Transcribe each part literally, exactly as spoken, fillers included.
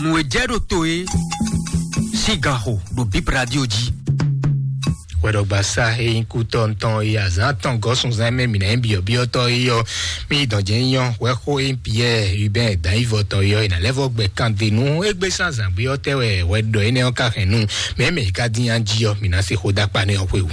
Nǔ e jɛ ɖo to é sín ganxo ɖo Bip Radio jí. Hwɛɖɔgbasa e nyí kútɔ́ ntɔn e azǎn atɔn gɔ́ sunzán mɛ mǐ ná nyí byɔ̌byɔ́tɔ́ é ɔ́, mì yi dɔn jɛ nyí ɔ́, hwɛxó e nyí Piyɛ́ɛ Ubɛ́n Dǎnyívɔtɔn é ɔ́, è nǎ lɛ́ vɔ gbɛ kan de nú égbé sín azǎn gbé ɔ́ tɛ́ wɛ hwɛɖɔ énɛ́ ɔ́ ka hɛn nú mɛ e mɛ è ka dín nya jí ɔ́, mǐ ná se xó dó akpa nɛ́ ɔ́ xwé wú.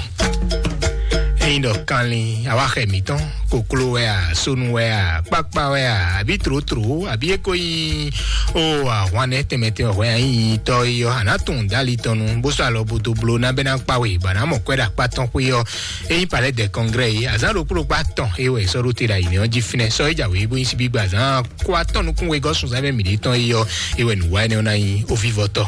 Ényí ɖɔ kanlin awáxɛ mǐtɔn, kokló wɛ a, sónú wɛ a, kpákpá wɛ a, abǐ tlǒtlǒ, abǐ é ko nyí ó ahwan nɛ́ tɛnmɛ tɛnmɛ hwɛ a nyí nyitɔ́ é ɔ́, a nǎ tunwun dó ali tɔn nu, bó sɔ́ alɔ bo dó bló ná bɛ́ ná kpa we, bɔ a nǎ mɔ kwɛ́ ɖo akpá tɔn xwé ɔ́, é nyí palais de congrès é, azǎn ɖokpó ɖokpó atɔn é wɛ è sɔ́ ɖó te ɖo ayǐ nɛ́ ɔ́ jí fínɛ́, sɔ́ é jǎwe bó nyí síbígbe azǎn kó atɔ́ nukún wegɔ́ sunzán mɛ mǐɖée tɔn é ɔ́, é wɛ nǔwanɛ́ ɔ́ ná nyí ovívɔ́tɔ́.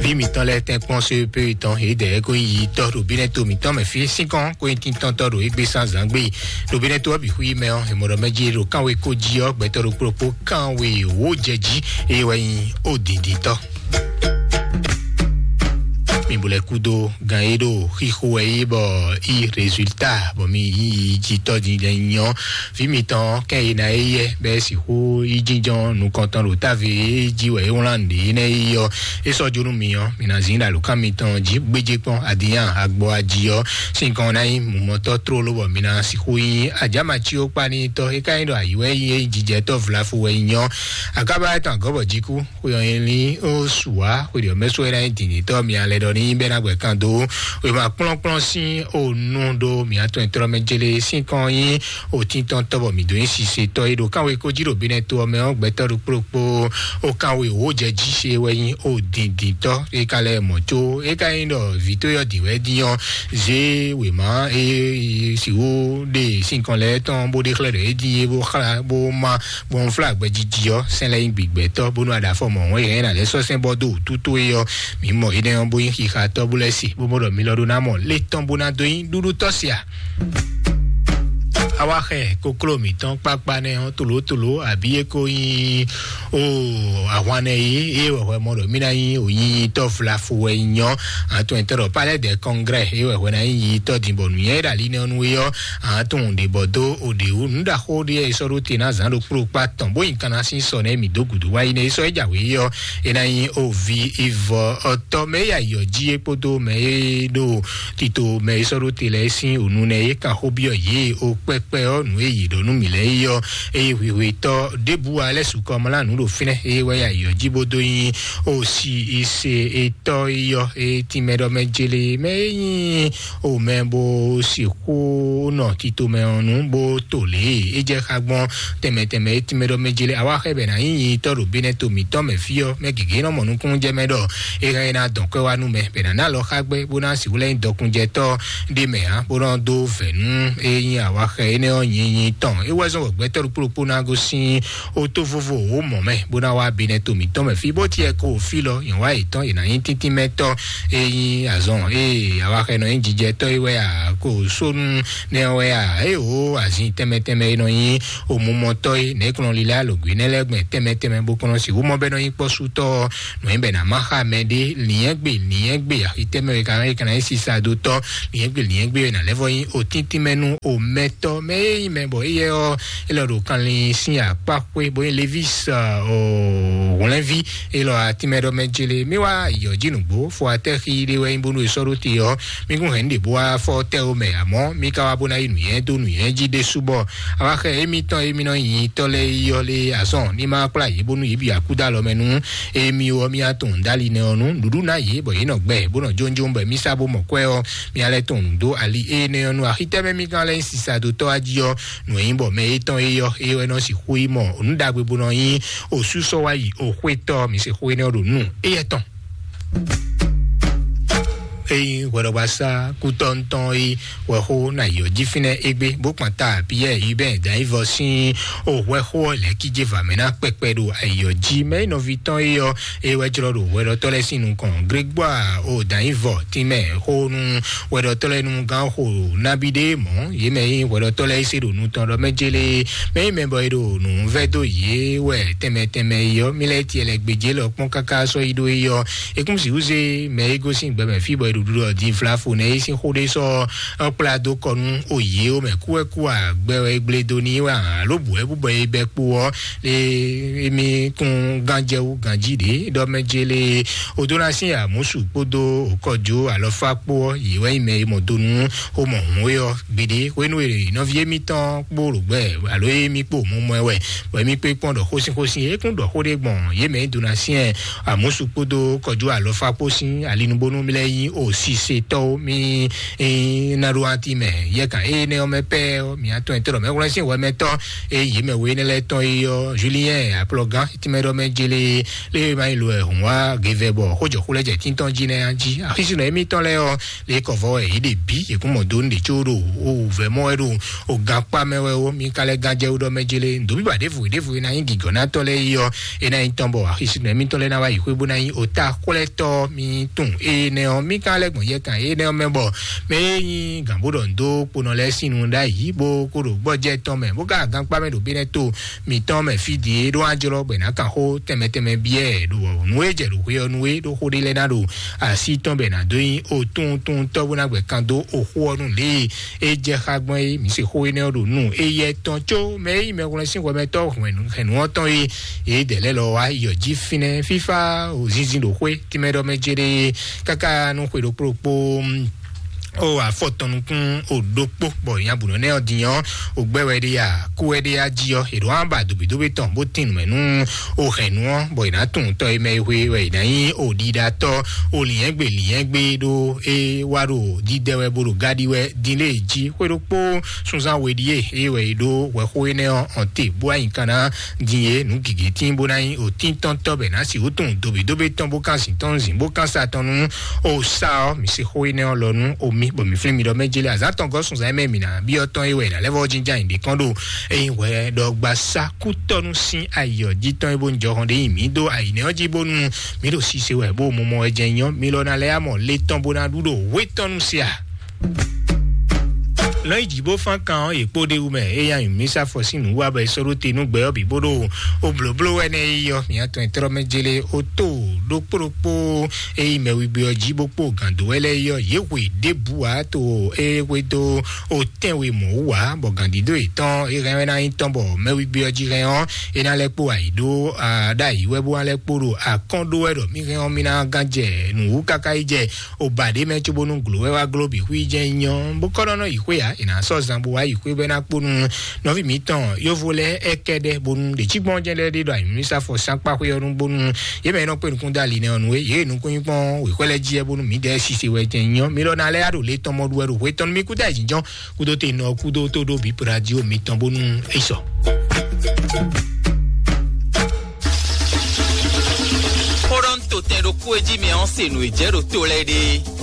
Vǐ mǐtɔn lɛ́ɛ tɛ́nkpɔ́n C E P tɔn, yědɛɛ ko nyí yitɔ́ ɖo bínɛ́ to mǐtɔn mɛ fí sínkɔ́n ko nyí tíntɔ́ntɔ́ ɖo égbé sín azǎn gbé. Ɖo bínɛ́ to ɔ́ bǐ xwí mɛ ɔ́, è mɔ ɖɔ mɛ jí ɖo kánwe ko jí ɔ́, gbɛtɔ́ ɖokpó ɖokpó kánwe wǒ jɛ jí, eye wɛ nyí ó dǐndíntɔ́. Mi bo lɛ́ kúdó gan e ɖo xixo wɛ é bɔ yi résultat bɔ mi yi yi jitɔ́ din lɛ nyɔ. Vǐ mitɔn kɛ́n e ná é yɛ bɛ́ sixú yi jínjɔ́n nukɔntɔn ɖo táve e jí wɛ é wlán ɖě nɛ́ yi ɔ́, é sɔ́ jó nú mi ɔ́, mi ná zín ɖo alǒkan mitɔn jí gbéjé kpɔ́n adǐnyan agbɔ ají ɔ́, sín gɔ́n ná nyí mumɔtɔ́ tlóló bɔ mi ná sixú nyí ajámací ó kpa n'i tɔ́. É ka nyí ɖɔ ayǐ wɛ é nyí é jijɛtɔ́ vlafu wɛ nyí ɔ́, akába tɔn agɔ́ bɔ jí kú. Xwe ɔ́ nyí ó su wá xwe ɖě ɔ́ mɛ sú é ná nyí dǐndíntɔ́ mi alɛ ɖɔ ní bɛ́ ná gbɛ̌ kan dó wěma kplɔ́nkplɔ́n sín onu ɖó mǐ atɔn e tlɔ́ mɛ jélé sín kɔn nyí òtíntɔ́ntɔ́ bɔ mǐ dó nyí sisetɔ́ e ɖo kánwe ko jí ɖo bínɛ́ to ɔ́ mɛ ɔ́, gbɛtɔ́ ɖokpó ɖokpó ó kánwe wǒ jɛ jí se wɛ nyí ó dǐndíntɔ́. É ka lɛ́ mɔ̌ có é ka nyí ɖɔ vǐ tó yɔ dǐn wɛ dín ɔ́, zě wěma e sixú ɖe sín kɔn lɛ́ɛ tɔn bó ɖe xlɛ́ ɖɔ é dín é bó xlá bó má gbɔn flá gbɛjiji ɔ́, sɛn lɛ́ nyí gbigbɛtɔ́ bónú aɖafɔ mɔ wɔn yɛn ná lɛ́ sɔ́ sɛn bɔ dó wútu towe ɔ́, mǐ mɔ énɛ́ ɔ́ bó nyí xixa tɔ́ bó lɛ́ se bó mɔ ɖɔ mi lɔ ɖó ná mɔ lé tɔn bó ná dó nyí ɖúɖú tɔ́ se a? Awa xɛ kokló mǐtɔn kpákpá nɛ́ ɔ́, tolótoló abǐ é ko nyí o ahwan nɛ yí é wɛ hwɛ mɔ ɖɔ mí ná nyí o nyínyítɔ́ vlafo wɛ nyí nyɔ́. Atɔn ɛtɔ́ ɖɔ palais de congrès é wɛ hwɛ ná nyí nyínyítɔ́ din bɔ nǔnyɛ é ɖo ali nɛ́ ɔ́ nú é ɔ́, atɔn ɖě bɔ dó o ɖě wú nǔ ɖaxó ɖé é sɔ́ ɖó te ná zǎn ɖokpó ɖokpó atɔn bó nyi kanna sín sɔ nɛ́ mǐ dó gǔdo wá yi nɛ́ é sɔ́ é jǎwe é ɔ́, é ná nyí o vi ivɔ ɔtɔ́ mɛ é ya yɔ jí é kpódó mɛ é ɖo tito mɛ e sɔ́ ɖó te lɛ́ɛ sín ònu nɛ́ é kan xó byɔ́ yě o kpɛkpɛ ɔ́ nǔ e yě ɖɔ nú mǐ lɛ́ɛ é ɔ́, eye hwihwetɔ́ ɖěbǔ wa lɛ́ su kɔmlá nǔ ɖo fínɛ́ eye wɛ ya yɔ jí bó dó nyí o si ise etɔ́ é yɔ e tínmɛ ɖɔ mɛ jele mɛ é nyí o mɛ bó sixú nɔ tito mɛ ɔ́ nú bó to lě e é jɛ xá gbɔn tɛnmɛ tɛnmɛ é tínmɛ ɖɔ mɛ jele awa xɛ bɛ ná nyí nyitɔ́ ɖo bínɛ́ to mǐtɔn mɛ fí ɔ́ mɛ gěgé nɔ mɔ nukúnnú jɛ mɛ ɖɔ é hɛn é ná dɔn kwɛ́ wá nú mɛ bɛ ná ná lɔ xá gbɛ bó ná sixú lɛ́ nyí dɔkunnújɛtɔ́ ɖé mɛ ǎ bó nɔ dó vɛ̌ nú é nyí awaxɛ énɛ́ ɔ́ nyinyi tɔn. É wɛ zɔ́n wɔ gbɛtɔ́ ɖokpó ɖokpó ná gosín ó tó vovo wǒ mɔ̌ mɛ bó ná wá binɛ to mǐtɔn mɛ fí bó tiɛ ko fí lɔ nyɔ̌wá yětɔn yě ná nyí tíntín mɛtɔ́. É nyí azɔn ée awaxɛ nɔ nyí jijɛtɔ́ é wɛ a ko sónú nɛ ɔ́ wɛ a é wǒ azin tɛnmɛ tɛnmɛ é nɔ nyí omumɔtɔ́ é nɛ̌ kplɔn lílá alǒgbe nɛ́ lɛ́ɛ gbɛn tɛnmɛ tɛnmɛ bó kplɔ́n sixú mɔ bɛ́ nɔ nyí kpɔ́sútɔ́ ɔ́ nǔ e bɛ ná má xa mɛ ɖé lǐnyɛ́gbe lǐnyɛ́gbe axi tɛ́ mɛ e ka e ka ná nyí sisadotɔ́ lǐnyɛ́gbe lǐnyɛ́gbe e ná lɛ́ vɔ nyí otíntín mɛ nú omɛtɔ́ mɛ e nyí mɛ bɔ éyɛ́ ɔ́ é lɔ ɖo kanlin sín akpá xwé bó nyí levis hwlɛ́nví é lɔ atínmɛ ɖɔ mɛ jele mí wá yɔ jí nǔgbó fo atɛ́ xí ɖé wɛ nyí bónú è sɔ́ ɖó te ɔ́ mí kún hɛn nǔ ɖě bó wá fɔ tɛ́ ó mɛ amɔ́ mí ka wá bó ná yí nǔnywɛ́ dó nǔnywɛ́ jí ɖésú bɔ awa xɛ émítɔn émí nɔ nyi tɔ́ lɛ́ɛ yi ɔ́ lé azɔn ní má kplá yě bónú yě bǐ akúdó alɔ mɛ nú émí ɔ́ mí á tunwun dó ali nɛ ɔ́ nú nǔɖuɖu ná yě bɔ yě nɔ gbɛ bó nɔ jónjón bɔ mí sá bó mɔ kwɛ́ ɔ́ mí á lɛ́ tunwun nǔ dó ali énɛ́ ɔ́ nú axi tɛ́ mɛ mí gán lɛ́ nyí sisadotɔ́ wá jí ɔ́ nǔ e nyí bɔ mɛ étɔn é ɔ́ é wɛ nɔ sixú yi mɔ nǔ ɖagbe bó nɔ nyí osúsɔ wá yi oxwétɔ́ mi sixú énɛ́ ɔ́ ɖo nú éyɛ́ tɔn. Eyi hwɛɖɔgbasá kútɔ́ntɔn yi wɛxó na yɔ jí fínɛ́ égbé bó kpan ta Piyɛ́ɛ Hubɛ́ɛ Danyivɔ sín o hwɛxó ɔ́ lɛ̌ kíjé va mɛ ná kpɛkpɛ ɖo ayɔ jí mɛ é nɔví tɔn é ɔ́ é wɛ jlɔ́ ɖo hwɛɖɔtɔ́ lɛ́ɛ sín nukɔn. Grégbɔ́a o Danyivɔ tínmɛ xó nú hwɛɖɔtɔ́ lɛ́ɛ nú gán xo nábí ɖé mɔ̌ yě mɛ nyí hwɛɖɔtɔ́ lɛ́ɛ é se ɖo nu tɔn ɖɔ mɛ jélé mɛ nyí mɛ bɔ é ɖo nǔ vɛ́ dó yě wɛ tɛnmɛ tɛnmɛ é ɔ́ mí lɛ́ tiɛ lɛ gbějé lɔ kpɔ́n káká sɔ́ yi ɖó é ɔ́ é kún sixú zé mɛ é gosín gbɛmɛ fí bɔ é ɖuɖu ɔ́ din vlafo nɛ é sín xó ɖé sɔ́ ɔ́ kplá dó kɔ nú òye ó mɛ kú wɛ kú àgbɛ wɛ gblé dó ní wɛ alo bǔ wɛ bú bɔ é bɛ kpo ɔ́ lé émí kún gánjɛwú ganjí ɖě ɖɔ mɛ jélé odó ná sín àmúsù kpódó òkɔjó alɔfá kpó ɔ́ yě wɛ nyí mɛ e mɔ dó nú xomɔ hǔn é ɔ́ gbeɖé hwénú e nɔví émítɔn kpó ɖo gbɛ alo émí kpó mɔmɔ ɛ wɛ bɔ émí kpé kpɔ́n ɖɔ xósínxósín é kún ɖɔ xó ɖé gbɔn yě mɛ é dó ná syɛn àmúsù kpódó kɔjú alɔfá kpó sín alinubónú lɛ́ɛ nyí òsisetɔ́wo mí ná ɖó anti mɛ yɛkan énɛ́ ɔ́ mɛ pɛ́ ɔ́ mǐ atɔn ɛtɛ́ ɖɔ mɛ hwlɛ́n sín hwɛmɛtɔ́ é yě mɛ we énɛ́ lɛ́ɛ tɔn é ɔ́ julien aplɔgán tínmɛ ɖɔ mɛ jélé lé ma yi lo ɛ hùn wá gevɛ bɔ xójɔxó lɛ́ jɛ tíntɔn jí nɛ́ jí axísínɔ émítɔn lɛ́ɛ ɔ́ lě kɔ vɔ wɛ yě ɖe bǐ yě kún mɔ dó nǔɖé có ɖo o vɛ̌ mɔ wɛ ɖo o gankpá mɛ wɛ ó mí ka lɛ́ gán jɛ wú ɖɔ mɛ jélé ndo bíbà ɖěvo ɖěvo e ná nyí gǐgɔ́nátɔ́ lɛ́ɛ yi ɔ́ é ná nyí tɔn bɔ axisínɔ émítɔn lɛ́ɛ ná wá yi xwé bó ná nyí o ta xwlɛ́tɔ́ mí tún énɛ́ ɔ́ mí ka lɛ́ gbɔn yɛ kan énɛ́ ɔ́ mɛ bɔ mɛ e nyí gǎn bó ɖɔ ndo kponɔ lɛ́ɛ sín nu ɖ'ayǐ bó kó ɖo gbɔjɛ tɔn mɛ bó ka gankpá mɛ ɖo bínɛ́ to mǐtɔn mɛ fí din é ɖó ajlɔ́ bɔ è nǎ kan xó tɛnmɛ tɛnmɛ byɔ́ ɛ ɖo nǔ e jɛ ɖo xwé ɔ́ nú é ɖó xó ɖé lɛ́ɛ ná ɖo así tɔn bɔ è nǎ dó nyí o tunwun tunwun tɔ́ bó ná gbɛ kan dó oxó ɔ́ nú lě e é jɛ xá gbɔn é mǐ se xó énɛ́ ɔ́ ɖo nú éyɛ́ tɔn có mɛ e nyí mɛhwlɛ́n sín hwɛmɛtɔ́ hɛ̌nnu ɔ́ tɔn é yě dɛ lɛ́ lɔ wá yɔ jí fínɛ́ fífá zinzin ɖo xwé tínmɛ ɖɔ mɛ céɖée káká nú xwe ɖokpó ɖokpó ó afɔ tɔn nukún ó ɖokpó bɔ nyabǔnɔ nɛ ɔ́ din ɔ́ ó gbɛ wɛ ɖe ya kú wɛ ɖe ya jí ɔ́ è ɖǒ á ba dǒbídóbí tɔn bó tín nǔmɛ nú ó hɛn nú ɔ́ bɔ è nǎ tunwun tɔ́ e mɛ e hwe wɛ è nǎ nyí ó ɖiɖatɔ́ ó lǐnyɛ́gbe lǐnyɛ́gbe ɖó é wá ɖo dídɛ wɛ bó ɖo gáɖí wɛ dín lé jí xwé ɖokpó sunzán we ɖíe é wɛ è ɖó hwɛxó énɛ́ ɔ́ ɔn te bó anyǐ kan ná din e nǔ gěgé tín bó ná nyí òtíntɔ́ntɔ́ bɛ ná sixú tunwun dǒbídóbí tɔn bó kán zǐn tɔn zǐn bó kán sa tɔn nú ó sá ɔ́ mi se xó énɛ́ ɔ́ lɔ nú omi bɔ mi flín mi ɖɔ mɛ jélé azǎn tɔn gɔ́ sunzán mɛ mi ná byɔ́ tɔn é wɛ è nǎ lɛ́ vɔ́ jínján yě ɖě kɔn ɖo ényí hwɛ ɖɔ gba sá kútɔ́nú sín ayǐ ɔ́ jí tɔn é bó ń jɔ hɔn ɖé nyi mǐ dó ayǐ nɛ́ ɔ́ jí bónú mǐ ɖo sise wɛ bó mɔmɔ wɛ jɛ nyɔ́ mi lɔ ná lɛ́ amɔ lé tɔn bó ná ɖu ɖo wé tɔn nú se a. Lɔn yi dzi bó fán kan ɔ́ yě kpó ɖe wú mɛ é yá nyǐ mí sá fɔ sín nǔ wá bɔ è sɔ́ ɖó te nú gbɛ ɔ́ bǐ bó ɖo ó blǒbló wɛ nɛ́ yi ɔ́ mǐ atɔn e tlɔ́ mɛ jélé ó tó ɖokpó ɖokpó é yi mɛ wigbe ɔ́ jí bó kpó gǎn dó wɛ lɛ́ɛ yi ɔ́ yě hwe ɖěbǔ wǎ to é hwedó ó tɛ́nwe mɔ̌ wú wǎ bɔ gǎndídó yětɔn é hɛn wɛ ná nyí tɔn bɔ mɛ wigbe ɔ́ jí hɛn ɔ́ é ná lɛ́ kpó ayǐ ɖó ɖ'ayǐ wɛ bó wá lɛ́ kpó ɖo akɔ́n ɖó wɛ ɖɔ mí hɛn ɔ́ mí ná gán jɛ nǔ wú káká yi jɛ o ba ɖě mɛ cóbónú glo wɛ wá gló bǐ xwí jɛ́n nyí ɔ́ bó kɔ́ nɔ nɔ yi xwé ǎ è nǎ sɔ́ zan bó wá yi xwé bɔ é ná kpó nú nɔví mǐtɔn yóvo lɛ́ɛ é kɛ ɖɛ bónú ɖě cí gbɔn jɛ́n lɛ́ɛ ɖé ɖo ayǐmísá fɔ sánkpá xwé ɔ́ nú bónú yě mɛ e nɔ kpé nukún dó ali nɛ́ ɔ́ nú é yě e nukún nyí kpɔ́n wěxwɛ́ lɛ́ɛ jí ɛ bónú mǐdɛɛ sise wɛ jɛ́n nyí ɔ́ mi lɔ ná lɛ́ yá ɖo lě tɔn mɔ ɖu wɛ ɖo hwé tɔn nú mì kúdó ayǐjínjɔ́n kúdó te nɔ kúdó tó ɖó bǐ pradi ó mitɔn bónú é sɔ. Xó ɖɔ ń to tɛn ɖokpó e jí mi ɔ́ se nǔ e jɛ ɖo to lɛ́ɛ ɖe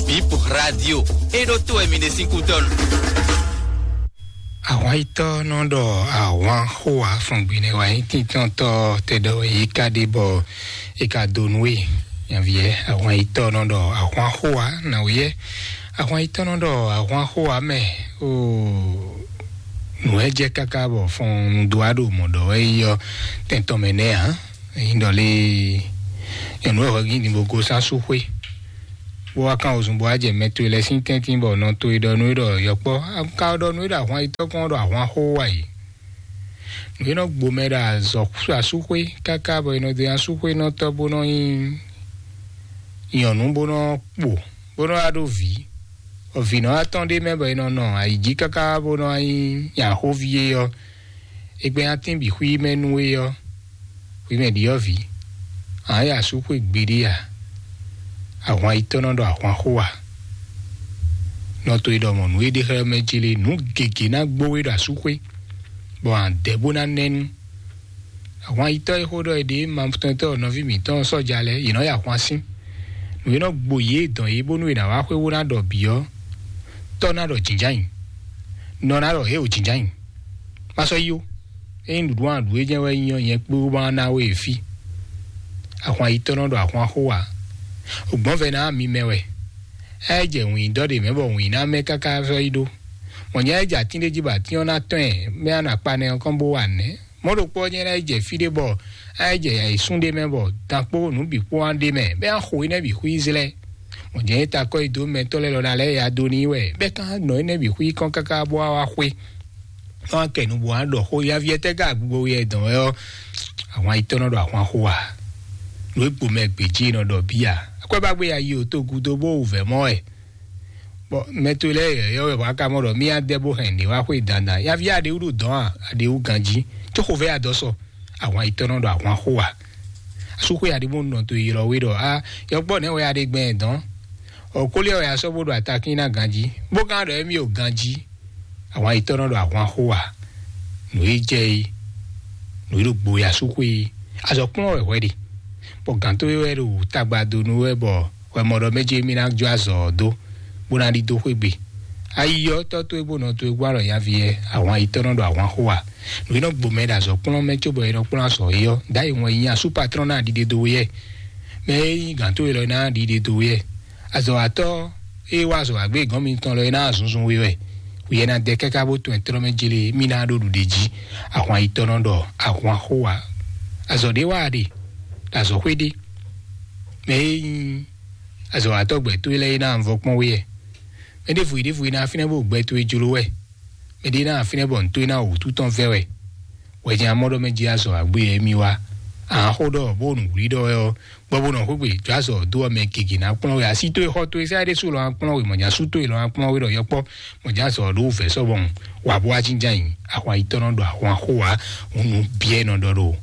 bǐ radio é ɖó to wɛ mi ɖe sín kútɔ́ nu. Ahwan yitɔ́ nɔ ɖɔ ahwan xó afɔngbi nɛ wa nyí tíntɔ́ntɔ́ tɛ ɖɔ yě ká ɖe bɔ é ka dó nú we nyaviɛ. Ahwan yitɔ́ nɔ ɖɔ ahwan xó wa nǎ wúyɛ. Ahwan yitɔ́ nɔ ɖɔ ahwan xó wa mɛ oo. Nǔ wɛ jɛ káká bɔ fɔn nu dó wá ɖo mɔ̌ ɖɔ wɛ yi ɔ́ tɛntɔn mɛ nɛ́ ǎ. Nyɔ̌nu ɔ́ hwɛgín din bó gosín asúxwé, bó wá kán wozun bó wá jɛ mɛ towe lɛ́ɛ sín tɛ́ntin bɔ nɔ towe ɖɔ nú é ɖɔ yɔkpɔ́, un ka ɖɔ nú é ɖɔ ahwan yitɔ́ kɔn ɖɔ ahwan xó wá yi. Nǔ e nɔ gbo mɛ ɖo azɔ̌ asúxwé káká bɔ è nɔ dó nyi asúxwénɔtɔ́ bó nɔ nyí nyɔ̌nu bó nɔ kpo bó nɔ wá ɖó vǐ. Bɔ vǐ nɔ wá tɔ́n ɖ'é mɛ bɔ è nɔ nɔ ayǐ jí káká bó nɔ wá nyí nyaxóví é ɔ́, è gbɛ́ nyatín bǐ xwí mɛ nú é ɔ́, xwǐ mɛ ɖi ɔ́ vǐ. Ǎ é asúxwé gbeɖé a? Ahwan yitɔ́ nɔ ɖɔ ahwan xó a? Nɔ to e ɖɔ mɔ̌ nú é ɖe xlɛ́ mɛ jlé nǔ gěgé ná gbó we ɖo asúxwé, bɔ ǎ dɛ bó ná nɛ́ nú. Ahwan yitɔ́ e xó ɖɔ è ɖe ma tɔn tɔ́ nɔví mǐtɔn sɔ́ja lɛ́ɛ, yě nɔ yi ahwan sín. Nǔ e nɔ gbo yě dɔn yě bónú è nǎ wá xwé bó ná ɖɔ bǐ ɔ́, tɔ́ ná ɖɔ jǐnján nyi, nɔ ná ɖɔ hě o jǐnján nyi. Má sɔ́ yí ó. Ényí nǔɖuɖu aɖǔ e jɛ́n wɛ nyí ɔ́, nyɛ kpé wú ma ná we e fí. Ahwan yitɔ́ nɔ ɖɔ ahwan xó ǎ. Ògbɔ́nvɛ ná mi mɛ wɛ. Ɛ jɛ wǐndɔ́ ɖe mɛ bɔ wǐn ná mɛ káká sɔ́ yi ɖó. Mɔ̌ nyɛ ɛ jɛ atín ɖé jí bɔ atín ɔ́ ná tɔ́n ɛ, mɛ á nɔ akpa nɛ ɔ́ kɔn bó wa nɛ̌? Mɔ̌ ɖokpó ɔ́ nyɛ ná yi jɛ fí ɖé bɔ á yi jɛ ayǐsún ɖé mɛ bɔ dan kpó nǔ bǐ kpó wá ɖ'é mɛ, bɔ é ná xo énɛ́ bǐ xwí Izlayɛ́li. Mɔ̌ jɛ́n é ta kɔ́ yi dó mɛtɔ́ lɛ́ɛ lɔ ná lɛ́ɛ ya dó n'i wɛ, bɛ́ ká nɔ énɛ́ bǐ xwí kɔn káká bó wá wá xwé. Nɔ wá kɛ nǔ bó wá ɖɔ xó yá viɛ tɛ́ ká gbogbo yɛ dɔn wɛ ɔ́, àwọn ayitɔ́ nɔ ɖo ahwan xó a? Nǔ e gbo mɛ gbějí nɔ ɖɔ bíya. Akwɛ́ bá gbé ya yi o tó gúdo bó wù vɛ̌ mɔ wɛ. Bɔ mɛ to lɛ́ɛ yɔ̌yɔ́ wɛ bɔ a ka mɔ ɖɔ mí adɛ bó hɛn ɖě wá xwé dandan. Yaví aɖewú ɖo dɔ̌n a, aɖewú ganjí. Có xovɛ́ adɔsɔ, àwọn ayitɔ́ nɔ ɖo ahwan xó a? Asúxwé aɖé bó nɔ to ylɔ́ wé ɖɔ a, yɔkpɔ́ nɛ̌ wɛ aɖe gbɛn dɔ̌n? Ɔkóliɛ wɛ a sɔ́ bó ɖo atakín ná ganjí, bó gán ɖɔ émí o ganjí. Àwọn ayitɔ́ nɔ ɖo ahwan xó a? Nǔ e jɛ é, nǔ e ɖo gbo ya súxwé é, azɔ̌ kplɔ́n wɛ hwɛ ɖe. Bɔ gǎn towe wɛ ɖo tagba dó nú wɛ bɔ wɛ mɔ ɖɔ mɛ ce mì ná jó azɔ̌ ɔ́ dó, bó ná ɖidó xwé gbe. Ayi ɔ́, tɔ́ towe bó nɔ towe gbɔ alɔ nyaví yɛ, ahwan yi tɔ́ nɔ ɖo ahwan xó a? Nǔ e nɔ gbo mɛ ɖo azɔ̌ kplɔ́n mɛ cóbɔ è nɔ kplɔ́n azɔ̌ é ɔ́, ɖ'ayǐ wɛn yi nyi asú patron ná ɖiɖe dó we yɛ. Mɛ e nyí gǎn towe lɔ ná ɖiɖe dó we yɛ. Azɔ̌watɔ́ e wá azɔ̌ wá gbé gɔ́n mitɔn lɔ é ná zunzun we wɛ. Wǐyɛ ná dɛ káká bó tɔn ɛ tlɔ́ mɛ jlé mì ná ɖo ɖuɖe jí. Ahwan yi tɔ́ nɔ ɖɔ ahwan xó a? Azɔ̌ ɖé wá a ɖe, ɖo azɔ̌xwé ɖé. Mɛ e nyí azɔ̌watɔ́ gbɛ towe lɛ́ɛ é ná vɔ kpɔ́n we yɛ. Mɛ ɖěvo yi ɖěvo yi ná fínɛ́ bó gbɛ towe jló wɛ. Mɛ ɖé ná fínɛ́ bɔ nǔ towe ná wǔtu tɔn vɛ́ wɛ. Wɛ jɛ́n amɔ́ ɖɔ mɛ jí azɔ̌ agbé yɛ émí wá. Ǎ xó ɖɔ bó nǔ wlí ɖɔ wɛ ɔ́, gbɔ bó nɔ xwé gbe jó azɔ̌ dó ɔ́ mɛ gěgé ná kplɔ́n we. Así towe xɔ towe sɛ́ ɖésú lɔ ná kplɔ́n we, mɔ̌ nya sú towe lɔ ná kplɔ́n we ɖɔ yɔkpɔ́, mɔ̌ nya azɔ̌ ɖó wǔvɛ́ sɔ́ bɔ wǎ bó wá jínjɔ́n ayǐ. Ahwan yi tɔ́ nɔ ɖo ahwan xó wá, hǔn nǔ byɔ́ nɔ ɖɔ ɖo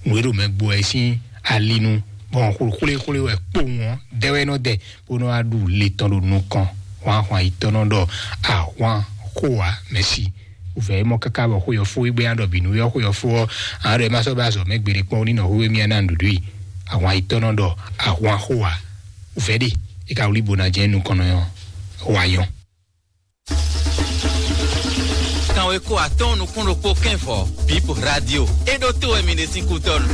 nǔ e ɖo mɛ gbo wɛ sín ali nu, bɔ xwlé xwlé wɛ kpowun ɔ́ dɛ wɛ nɔ dɛ, bó nɔ wá ɖu le tɔn ɖo nukɔn. Hwan ahwan yi tɔ́ nɔ ɖɔ ahwan xó wá mɛ̌si. Wǔvɛ́ e mɔ káká bɔ xó yɔfó e gbé ná ɖɔ bǐ nú yɔ xó yɔfó ɔ́, ǎ ɖɔ é má sɔ́ bá azɔ̌ mɛ gbeɖé kpɔ́n ní nɔ hwíwé mì ná nǔɖuɖu i. Ahwan yi tɔ́ nɔ ɖɔ ahwan xó wá. Wǔvɛ́ ɖe é ka wlí bo ná jɛ nukɔn nɔ yɔ wá yɔn. Kanweko atɔ́ɔ́n nukún ɖokpó kɛ́nvɔ, Bib Radio. É ɖótó wɛ mi ɖe sín kútɔ́nu.